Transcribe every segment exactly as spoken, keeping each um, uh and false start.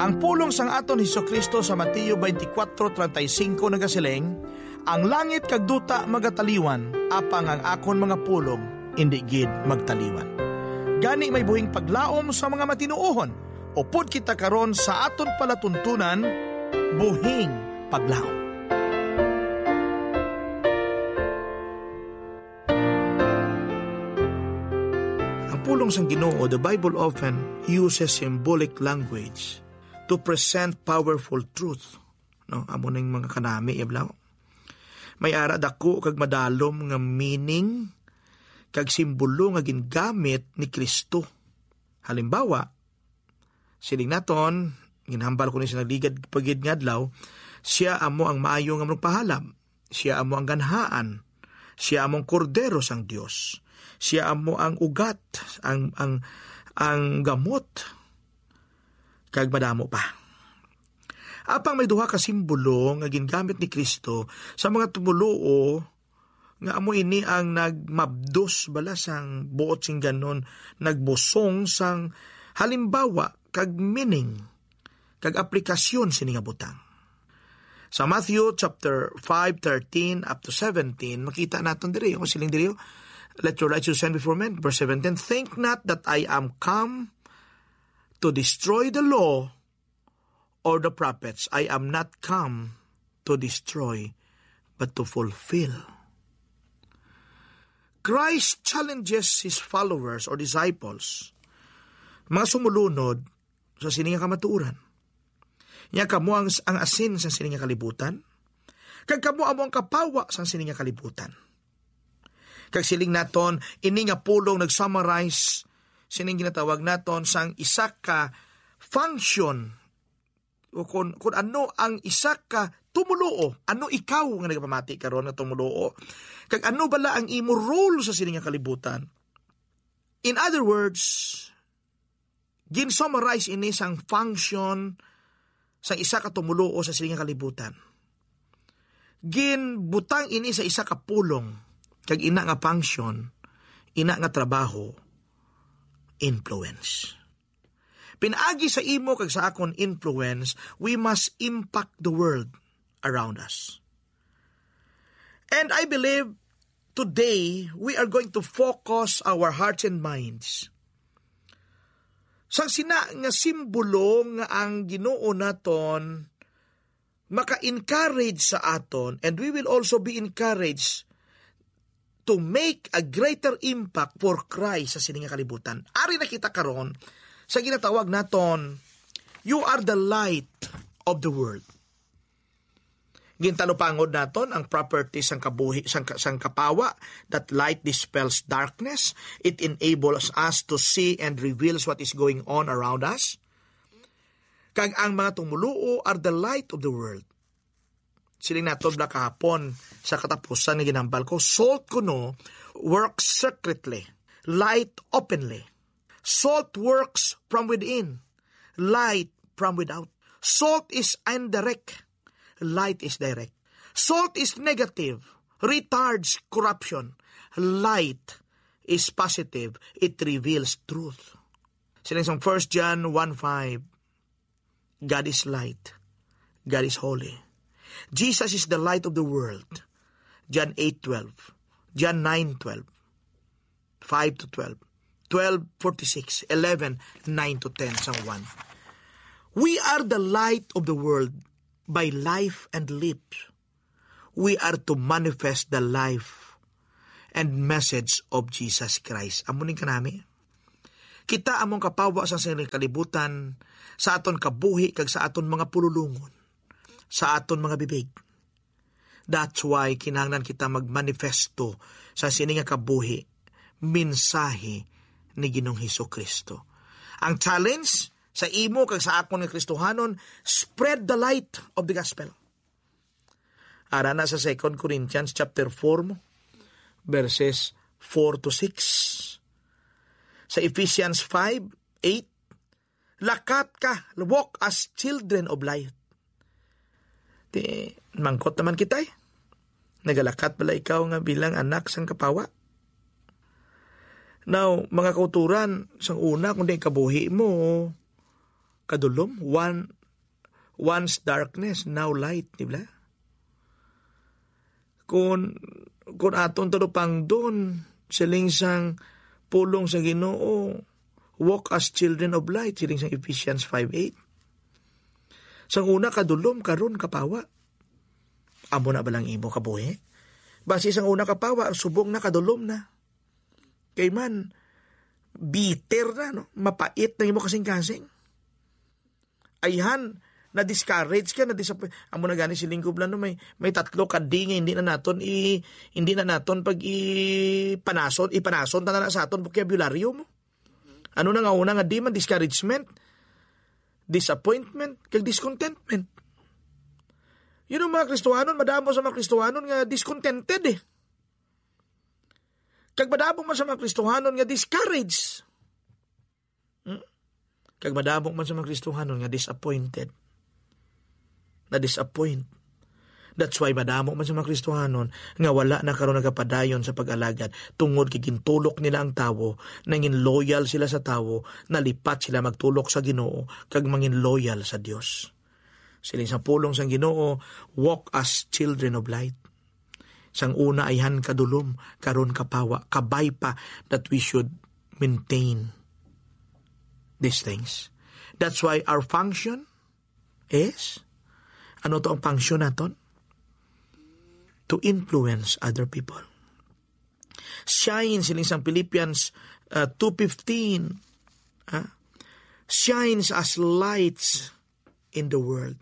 Ang pulong sang aton Jesu-Cristo sa Mateo twenty-four thirty-five nagasiling, "Ang langit kag duta magataliwan, apang ang akon mga pulong indi gid magtaliwan." Gani, may buhing paglaom sa mga matinuohon, upod kita karon sa aton palatuntunan, buhing paglaom. Ang pulong sang Ginoo, the Bible often uses symbolic language to present powerful truth. No, amo ning mga kanami, iblaw. May ara dako kag madalom nga meaning kag simbolo nga gingamit ni Cristo. Halimbawa, siling naton, ginhambal ko ni sa nagligad pa gid nga adlaw, siya amo ang maayo nga magpahalab. Siya amo ang ganhaan. Siya amo ang kordero sang Dios. Siya amo ang ugat, ang, ang, ang gamot, kag madamo pa. Apang may duha ka simbolo nga gingamit ni Cristo sa mga tumoluo, nga amo ini ang nagmabdos bala sang buot sing ganon, nagbusong sang halimbawa kag meaning kag aplikasyon sini nga butang. Sa Matthew chapter five thirteen up to seventeen, makita naton diri, ang siling diri, "Let your light so shine before men." Verse seventeen, "Think not that I am come to destroy the law or the prophets. I am not come to destroy, but to fulfill." Christ challenges his followers or disciples, mga sumulunod sa sini nga kamatuoran. Nya kamo ang, ang asin sa sini nga kalibutan, kag kamo amo ang kapawa sa sini nga kalibutan. Kag siling naton, ini nga pulong nag-summarize sining ginatawag naton sang isa ka function, o kun, kun ano ang isa ka tumuluo, ano ikaw nga nagapamati karon nga tumuluo, kag ano bala ang imo role sa sini nga kalibutan. In other words, gin-summarize ini sang function sang isa ka tumuluo sa sini nga kalibutan. Ginbutang ini sa isa ka pulong, kag ina nga function, ina nga trabaho, influence. Pinaagi sa imo kag sa akon influence, we must impact the world around us. And I believe today we are going to focus our hearts and minds sang sina nga simbolo nga ang Ginoo naton maka-encourage sa aton, and we will also be encouraged to make a greater impact for Christ sa sini nga kalibutan. Ari na kita karon sa ginatawag naton, "You are the light of the world." Gintalupangod naton ang property sang kabuhi, sang, sang kapawa, that light dispels darkness. It enables us to see and reveals what is going on around us. Kag ang mga tumuluo are the light of the world. Siling naton bala kahapon sa katapusan nga ginambal ko, salt kuno works secretly, light openly. Salt works from within, light from without. Salt is indirect, light is direct. Salt is negative, retards corruption. Light is positive, it reveals truth. Siling sang First John one five, "God is light. God is holy. Jesus is the light of the world." John eight twelve, John nine twelve, five to twelve, twelve forty-six, eleven nine to ten, sang one. We are the light of the world by life and lips. We are to manifest the life and message of Jesus Christ. Amo ning kanami. Kita among kapawa sa sining kalibutan, sa aton kabuhi kag sa aton mga pululongon, sa aton mga bibig. That's why kinahanglan kita magmanifesto sa sini nga kabuhi, mensahe ni Ginoong Hesus-Kristo. Ang challenge sa imo kag sa akon nga Kristohanon, spread the light of the gospel. Ara na sa Second Corinthians chapter four mo, verses four to six. Sa Ephesians five eight, "Lakat ka, walk as children of light." Ti, mangkot naman kita, eh. Nagalakat bala ikaw nga bilang anak sang kapawa? Now, mga kauturan, sang una, kung di kabuhi mo, kadulom, one, once darkness, now light, di ba? Kung, kung aton talupangdon, siling sang pulong sa Ginoo, "Walk as children of light," siling sang Ephesians five eight. Sang una kadulom, karon kapawa. Amo na ba lang imo kabuhi? Basi sang una kapawa, subong na, kadulom na. Kay man, bitter na, no? Mapait na imo kasing-kasing. Ayhan, na-discourage ka, na-disappoint. Amo na gani si Linggo Blan, no? May, may tatlo ka D nga hindi na naton i-, hindi na naton pag ipanason, ipanason ta na sa aton bokabularyo mo. Ano na nga una nga D man? Discouragement, disappointment, kag discontentment. Yun ang mga Kristohanon, madamo sa mga Kristohanon nga discontented eh. Kag madamo man sa mga Kristohanon nga discouraged. Hmm? Kag madamo man sa mga Kristohanon nga disappointed. Na-disappoint. That's why madamo man sa mga Kristohanon nga wala na karon nagapadayon sa pag-alagad tungod kay gintulok nila ang tawo, nangin loyal sila sa tawo, nalipat sila magtulok sa Ginoo kag mangin loyal sa Dios. Siling sa pulong sang Ginoo, "Walk as children of light." Sang una ayhan kadulom, karon kapawa, kabay pa that we should maintain these things. That's why our function is, ano to ang function naton? To influence other people. Shine, siling sang Philippians, uh, two fifteen, ah, "Shines as lights in the world."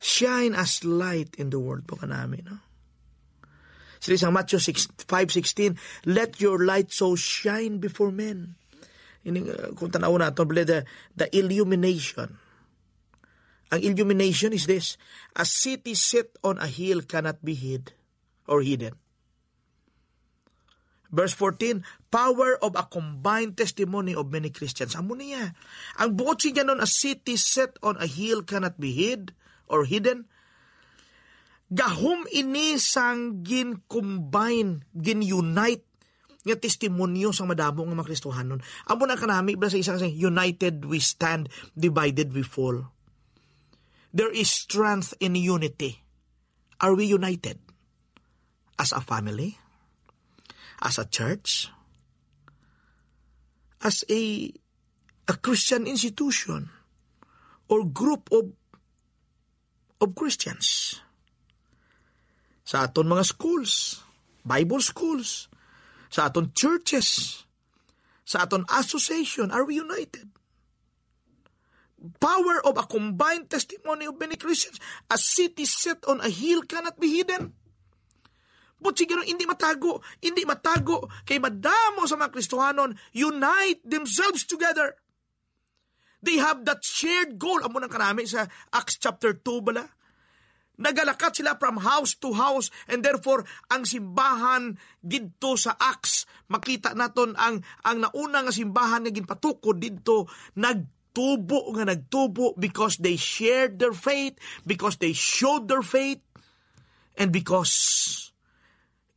Shine as light in the world po kanami, no? Siling sang Matthew six, five sixteen, "Let your light so shine before men." Ini, uh, kung tanaw nato, the, the illumination. Ang illumination is this: "A city set on a hill cannot be hid or hidden." Verse fourteen, "Power of a combined testimony of many Christians." Amo niya. Ang buot siya nun, "A city set on a hill cannot be hid or hidden." Gahom ini sang gin-combine, gin-unite nga testimonyo sang madamo nga mga Kristohanon. Amo na kanami ba sa isang, sa "United we stand, divided we fall." There is strength in unity. Are we united? As a family? As a church? As a, a Christian institution or group of, of Christians? Sa aton mga schools, Bible schools, sa aton churches, sa aton association, are we united? Power of a combined testimony of many Christians. A city set on a hill cannot be hidden. But siguro, hindi matago, hindi matago, kay madamo sa mga Kristohanon unite themselves together. They have that shared goal. Amo nang kanami sa Acts chapter two bala. Nagalakat sila from house to house, and therefore, ang simbahan didto sa Acts, makita naton ang, ang nauna nga simbahan nga ginpatukod didto, nagtubo nga nagtubo because they shared their faith, because they showed their faith, and because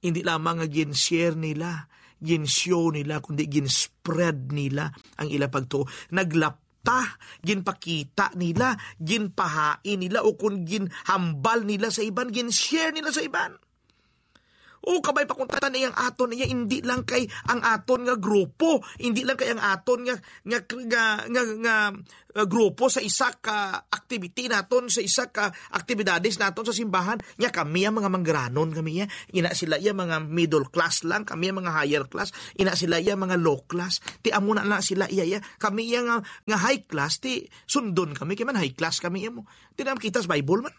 hindi lamang nga gin-share nila, gin-show nila, kundi gin-spread nila ang ila pagtuo. Naglapta, ginpakita nila, ginpahain nila, o kung ginhambal nila sa iban, gin-share nila sa iban. O kabay pa kung tatan iyang aton, iya hindi lang kay ang aton nga grupo, hindi lang kay ang aton nga, nga, nga, nga, nga, uh, grupo sa isa ka activity naton, sa isa ka aktibidades naton sa simbahan. Nya kami ang mga manggaranon, kami iya. Ina sila iya mga middle class lang, kami ang mga higher class. Ina sila iya mga low class. Ti amo na na sila iya, iya. Kami iya nga, nga high class, ti sundon kami, kay man high class kami iya mo. Ti na kita sa Bible man.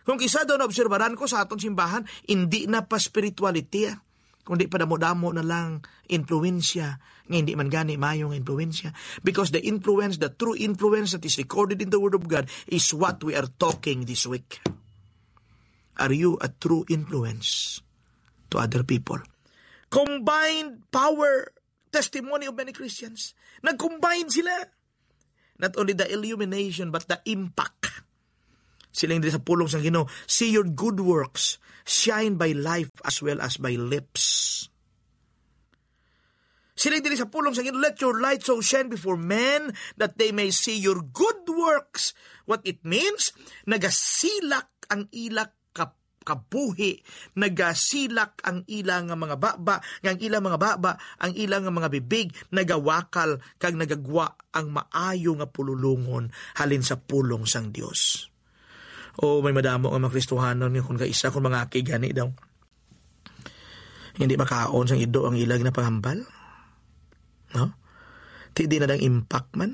Kung kisa daw naobserbaran ko sa aton simbahan, hindi na pa spirituality, ah, kundi padamo-damo na lang influensya nga hindi man gani maayo nga influensya. Because the influence, the true influence that is recorded in the Word of God is what we are talking this week. Are you a true influence to other people? Combined power, testimony of many Christians. Nag-combine sila. Not only the illumination, but the impact. Siling diri sa pulong sa Ginoo, "See your good works shine by life as well as by lips." Siling diri sa pulong sa Ginoo, "Let your light so shine before men that they may see your good works." What it means, nagasilak ang ila ka-, kabuhi, nagasilak ang ila nga mga baba, nga ang ila mga baba, ang ila nga mga bibig, nagawakal kag nagagwa ang maayo nga pululongon halin sa pulong sang Dios. O, may madamo nga mga Kristohanon nga kung kaisa, kung mga aki gani daw, hindi makaon sang ido ang ila ginapahambal. No? Ti di na dang impact man.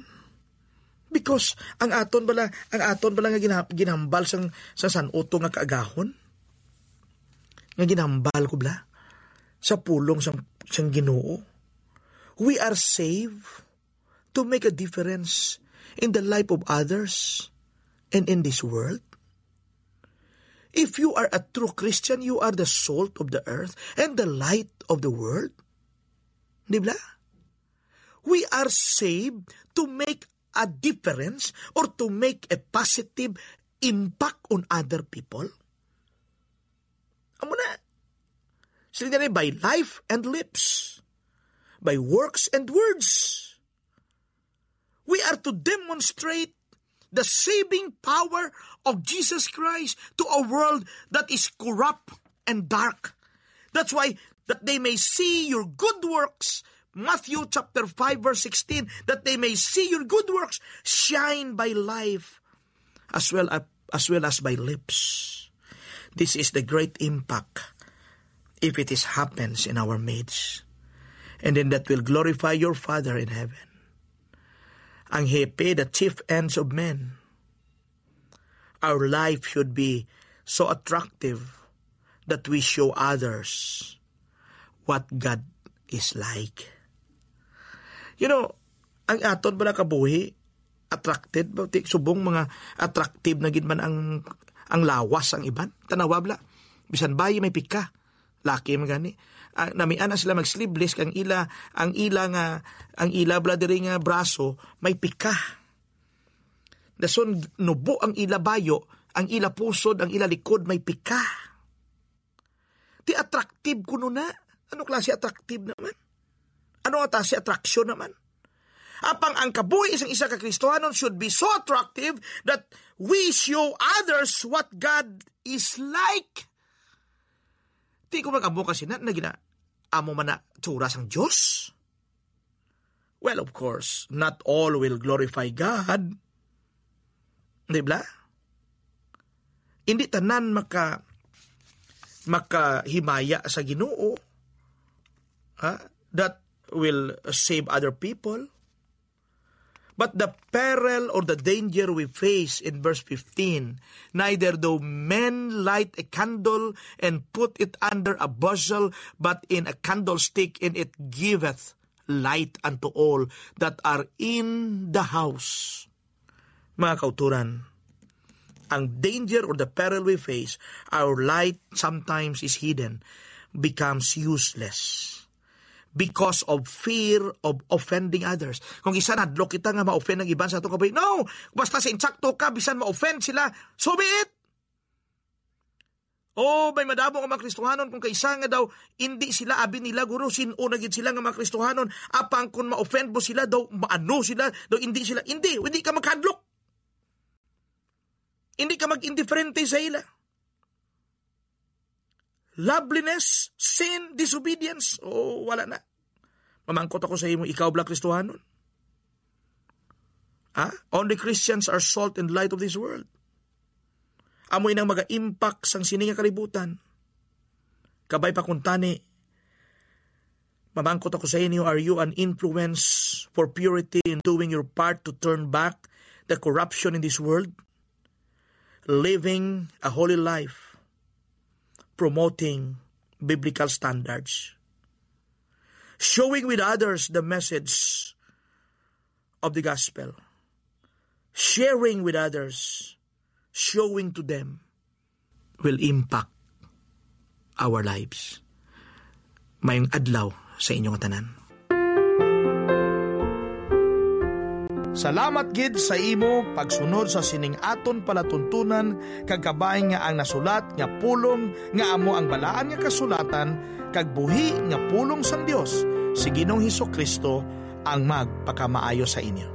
Because ang aton bala, ang aton bala nga gina-, ginhambal sang, sa san-uto nga kaagahon, nga ginhambal ko bala sa pulong sang, sang Ginoo. We are saved to make a difference in the life of others and in this world. If you are a true Christian, you are the salt of the earth and the light of the world. Di ba? We are saved to make a difference or to make a positive impact on other people. Amo na. Sila na by life and lips, by works and words. We are to demonstrate the saving power of Jesus Christ to a world that is corrupt and dark. That's why, "That they may see your good works," Matthew chapter five, verse sixteen, "that they may see your good works shine by life as well as, as well as by lips." This is the great impact if it is happens in our midst. And then that will glorify your Father in heaven. Ang hepe, the chief ends of men. Our life should be so attractive that we show others what God is like. You know, ang aton bala kabuhi, attracted ba? Ti-, subong mga attractive na gid man ang, ang lawas ang iban. Tanawa bala. Bisan bayi may pika. Laki man gani. Ah, namian na sila mag-sleeveless, kang ila, ang ila nga, ang ila bala diri nga braso may pika. Dason nubo ang ila bayo, ang ila pusod, ang ila likod may pika. Ti attractive kuno na. Ano klase attractive naman? Ano nga ta si attraction naman? Apang ang kabuhi sang isa ka Kristohanon should be so attractive that we show others what God is like. Ti ko mag-amo kasi na, na gina-, amo man na tsura sang Dios. Well, of course, not all will glorify God. Di ba? Hindi tanan maka-, makahimaya sa Ginoo, ha, that will save other people. But the peril or the danger we face in verse fifteen, "Neither do men light a candle and put it under a bushel, but in a candlestick, and it giveth light unto all that are in the house." Mga kauturan, ang danger or the peril we face, our light sometimes is hidden, becomes useless because of fear of offending others. Kung isa, nahadlok kita nga ma-offend ang iban sa atong kabuhi. No! Basta sa insakto ka, bisan ma-offend sila, so be it! Oh, may madamo nga mga Kristohanon kung kaisa nga daw, hindi sila, abi nila, guro, sin-o na gid sila nga mga Kristohanon, apang kung ma-offend mo sila, daw, maano sila, daw, hindi sila, hindi, hindi ka magkadlok. Hindi ka mag-indiferente sa ila. Loveliness, sin, disobedience, oh, wala na. Mamangkot ako sa imo, ikaw bala Kristohanon? Ha? Only Christians are salt and light of this world. Amo inang maga-impact sang sini nga kalibutan. Kabay pa kuntani, mamangkot ako sa inyo, are you an influence for purity in doing your part to turn back the corruption in this world? Living a holy life, promoting biblical standards, showing with others the message of the gospel, sharing with others, showing to them will impact our lives. Mayong adlaw sa inyo nga tanan. Salamat gid sa imo pagsunod sa sining aton palatuntunan kag kabay nga ang nasulat nga pulong nga amo ang Balaan nga Kasulatan kag buhi nga pulong sang Dios Si Ginoong Hesus-Kristo ang magpakamaayo sa inyo.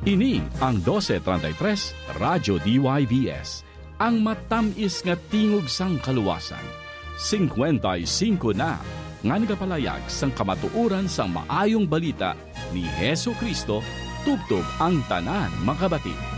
Ini ang doce treinta y tres Radyo D Y V S, ang matam-is nga tingog sang kaluwasan. Singkwenta y singko na nga nagapalayag sang kamatuoran sang Maayong Balita ni Jesu-Cristo tubtob ang tanan makabati.